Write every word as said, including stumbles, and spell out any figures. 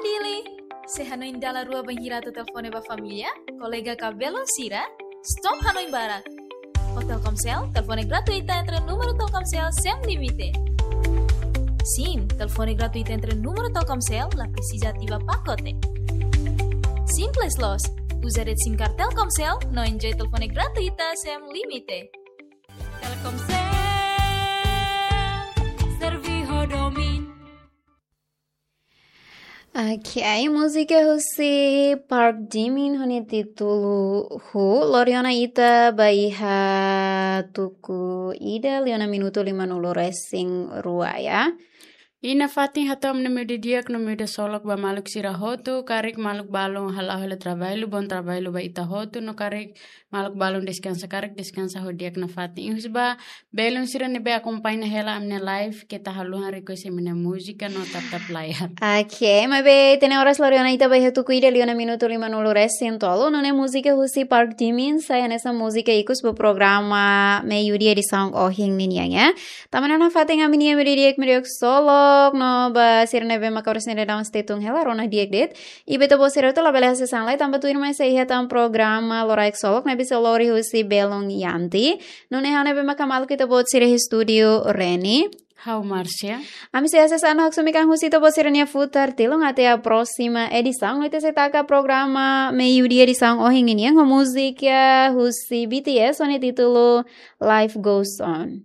Dili, se hanoin dala rua bainhira atu telefone ba família, kolega ka belun sira, stop hanoin barak. Ho Telkomsel, telefone gratuita entre númeru Telkomsel sem limite. Sim, telefone gratuita entre númeru Telkomsel, la presiza ativa pakote. Simples loos, uza rede SIM card Telkomsel, no enjoy telefone gratuita sem limite. Telkomsel, servi ho domin. Ok, múzika husi Park Jimin ho nia títulu Who. Lori ona ita ba iha tuku ida liu ona minutu limanulu resin rua ya. I nafatin hato'o ami-nia imi di'ak no imi ksolok ba maluk sira hotu, karik maluk balun hala'o hela traballu, bom traballu ba ita hotu, no karik maluk balun deskansa, karik deskansa ho di'ak nafatin. I husu ba belun sira ne'ebé akompaña hela ami-nia live, keta haluha request imi-nia múzika no tap-tap layar. Ok, maibé ita-nia oras lori ona ita ba iha tuku ida liu ona minutu limanulu resin tolu, nune'e múzika husi Park Jimin sai hanesan múzika ikus ba programa meiudia edisaun ohin ninian ya. Tanba ne'e nafatin ami-nia imi di'ak, imi di'ak ksolok, no ba sira ne'ebé maka oras ne'e daudaun stay tune hela, rona di'ak de'it. I ba ita-boot sira hotu labele hasees an lai, tanba tuirmai sei iha tan programa Loraik Ksolok ne'ebé sei lori husi belun Yanti. Nune'e ha'u ne'ebé maka maluk ita-boot sira iha estúdiu Reni. Ha'u Márcia. Ami sei hasees an no haksomi kan husi ita-boot sira-nia futar tilun até a próxima edição. No ita sei taka programa meiudia edisaun ohin ninian ho múzika husi B T S ho nia títulu Life Goes On.